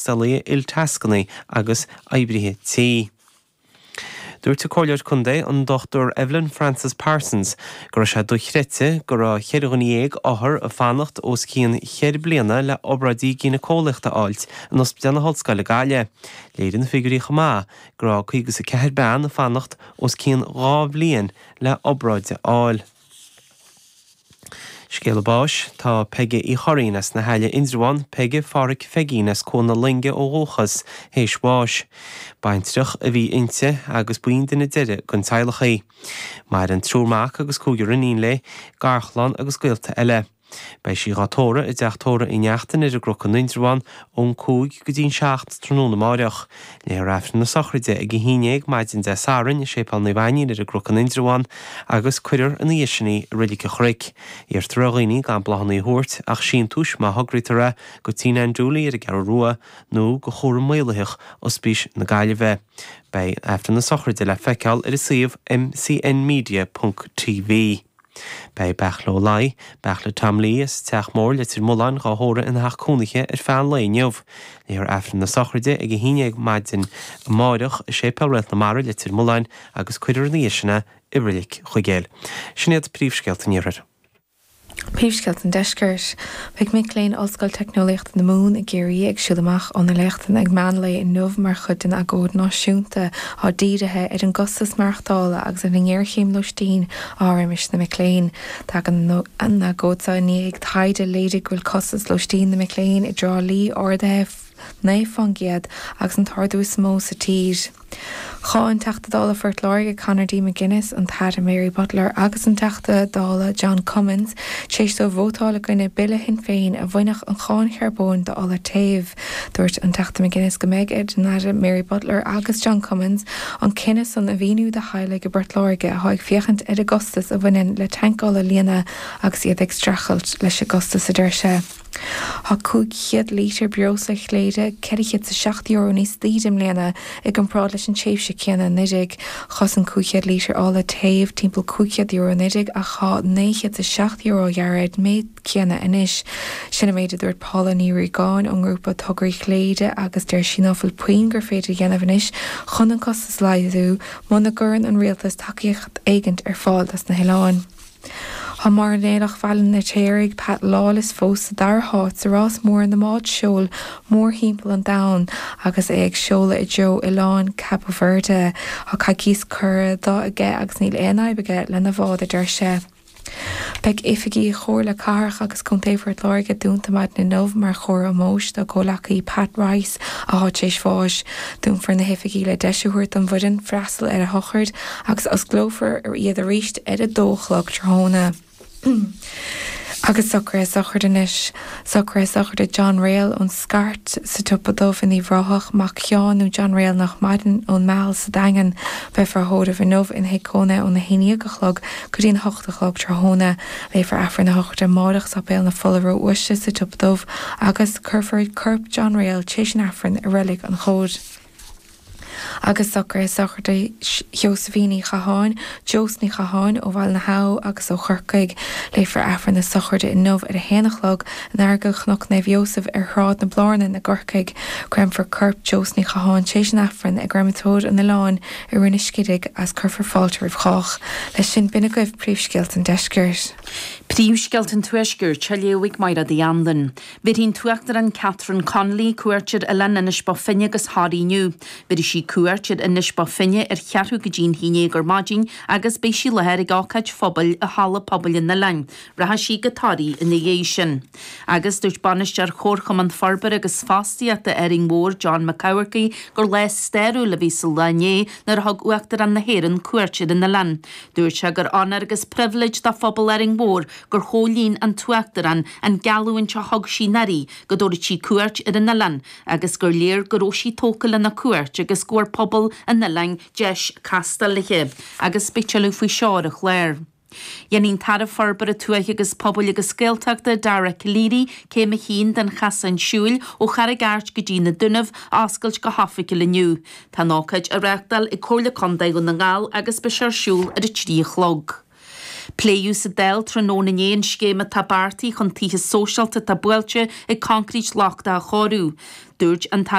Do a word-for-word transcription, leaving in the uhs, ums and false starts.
Freastalaithe iltascanna agus oibrithe tí. Dúirt an Comhairleoir Contae an Dr Evelyn Frances Parsons go raibh sé dochreidte go raibh ceithre dhuine dhéag othar ag fanacht os cionn cheithre bliana le obráidí gínéiceolaíochta a fháilt in Ospidéal na hOllscoile Gaillimh. Léirigh na figiúirí chomh maith go raibh caoga is a ceathair bean ag fanacht os cionn dhá bhliain le obráid a fháil. Scéala báis, Tá Peige Uí Churraoin as na hAille Indreabhán, Peige Pháraic Pheigín as Cuan na Loinge ó dhúchas, théis bháis. Baintreach a bhí inti agus ba í an duine deiridh den teaghlach í. Maireann triúr mac agus cúigear iníon léi, garchlann agus gaolta eile. Beidh sí dhá tórramh i dteach tórraimh Uí Neachtain ar an gCnoc in Indreabhán ón cúig go dtí an seacht tráthnóna amáireach. Léifear Aifreann na sochraide ag a haon déag maidin Dé Sathairn i Séipéal Naomh Ainnín ar an gCnoc in Indreabhán agus cuirfear ina dhiaidh sin í i Reilig an Chnoic. Iarrtar ar dhaoine gan bláthanna a thabhairt ach síntiúis má thograítear é go Tí Nan Dooley ar an gCeathrú Rua nó go Chúram Maolaitheach Ospís na Gaillimhe. Beidh Aifreann na sochraide le feiceáil ar an suíomh mcnmedia ponc tv. Beidh Beartla Ó Laoi, Beartla Tom Lee as Teach Mór, Leitir Mealláin, dhá thórramh ina theach cónaithe ar feadh an lae inniu. Léifear Aifreann na sochraide ag a haon déag maidin amáireach i Séipéal Réalt na Mara, Leitir Mealláin agus cuirfear ina dhiaidh sin é i Reilig Chuigéil. Sin iad príomhscéalta an Iarthair. Príomhscéalta an Deiscirt. Beidh mic léinn Ollscoil Teicneolaíochta na Mumhan i gCiarraí ag siúl amach óna léachtanna ag meán lae inniu mar chuid den agóid náisiúnta atá dírithe ar an gcostas maireachtála agus ar an ngéarchéim lóistín atá roimis na mic léinn. Tagann an agóid seo i ndiaidh taighde a léirigh go bhfuil costas lóistín na mic léinn i dTrá Lí ardaithe naoi faoin gcéad agus an t-ardú is mó sa tír. Cháin Teachta Dála Phort Láirge Conor D. McGuinness, an tAire Mary Butler agus an Teachta Dála John Cummins tar éis dóibh vótáil i gcoinne bille Shinn Féin a bhainfeadh an cháin charbóin d'ola téimh. Dúirt an Teachta McGuinness go mbeidh ar an Aire Mary Butler agus John Cummins an cinneadh san a mhíniú do theaghlaigh i bPort Láirge atá ag féachaint ar an gcostas a bhaineann le tanc ola a líonadh agus iad ag streachailt leis an gcostas, a deir sé. Tá cúig chéad lítear breosla Chléire ceithre chéad is a seacht euro níos daoire i mbliana i gcomparáid leis an tréimhse céanna anuraidh. Chosain cúig chéad lítear ola téimh timpeall cúig chéad euro anuraidh ach tá naoi chéad is a seacht euro á ghearradh ar an méid céanna anois. Sin an méid a dúirt Paula Ní Riagáin ón ngrúpa Tograí Chléire agus deir sí ná fuil puinn gur féidir a dhéanamh anois chun an costas a laghdú muna gcuireann an rialtas tacaíocht éigint ar fáil dos na hoileáin. Tá mairnéalach Bhaile an Fheirtéaraigh, Pat Lawless, fós sa dara háit sa rás mór na mbád seoil mórthimpeall an domhain agus é ag seoladh i dtreo oileán Cabo Verde. Tá coicíos curtha de aige agus níl aon fhadhb aige lena bhád, a deir sé. Beidh oifigí Chomhairle Cathrach agus Contae Phort Láirge dúnta maidin inniu mar chomhartha ómóis dá gcomhleacaí Pat Rice atá tar éis bháis. Dúnfar na hoifigí le deis a thabhairt don bhfoireann freastal ar a shochraid agus osclófar iad arís ar a dó a chlog tráthnóna. Agus socruithe sochraide anois. Socruithe sochraide John Réal ón Scairt sa tSiopa Dubh in Uíbh Ráthach, mac Sheáin nó John Réal nach maireann, ón Meal sa Daingean. Beifear á thórramh inniu ina thigh cónaithe óna haon déag a chlog go dtí an hocht a chlog tráthnóna. Léifear Aifreann na sochraide amárach i Sáipéal na Fola Ró-Uaisle sa tSiopa Dubh agus cuirfear corp John Réal tar éis an Aifrinn i Reilig an Chóid. Agus socruithe sochraide Sheosaimhín Uí Chatháin, Jós Ní Chatháin, ó Bhaile na hAbha agus ó Chorcaigh. Léifear Aifreann na sochraide inniu ar a haon a chlog in Aireagal Chnoc Naomh Iósaf ar Shráid na Blárnan i gCorcaigh. Créamfar corp Jós Ní Chatháin tar éis an Aifrinn i gcreamatóir an oileáin i Rinn an Scidígh as cuirfear fáilte roimh chách. Leis sin b'in agaibh príomhscéalta an deiscirt. Príomhscéalta an Tuaiscirt á léamh ag Mairéad Uí Anluain. Bhéarfaidh an tUachtarán Catherine Connolly cuairt ar oileáin Inis Bó Finne agus Thoraí inniu. Bhéarfaidh sí cuairt ar Inis Bó Finne ar cheathrú go dtí an haon déag ar maidin agus beidh sí i láthair ag ócáid phobail i Halla Pobail an Oileáin. Rachaidh sí go Toraigh ina dhiaidh sin. Agus dúirt Bainisteoir Chomharchumann Forbartha agus Fostaíochta Árainn Mhór John Mac Eamharcaigh gur lá stairiúil a bhí sa lá inné nuair a thug Uachtarán na hÉireann cuairt ar an oileán. Dúirt sé gur onóir agus pribhléid do phobal Árainn Mhór gur chomhlíon an tUachtarán an geallúint a thug sí anuraidh go dtabharfadh sí cuairt ar an oileán agus gur léir go raibh sí tógtha lena cuairt agus go bhfuair pobal an oileáin deis castáil léi agus beidh tuilleadh faoi seo ar an chlár. Dhéanfaidh an tAire Forbartha Tuaithe agus Pobail agus Gaeltachta, Dara Calleary, Céim a haon den chasán siúil ó Charraig Airt go dtí na Dúnaibh a oscailt go hoifigiúil inniu. Tá an ócáid á reáchtáil ag Comhairle Contae Dhún na nGall agus beidh sé ar siúl ar a trí a chlog. Pléadh sa Dáil tráthnóna inné an scéim atá beartaithe chun tithe sóisialta atá buailte ag concrete lochtach a chóiriú. Dúirt an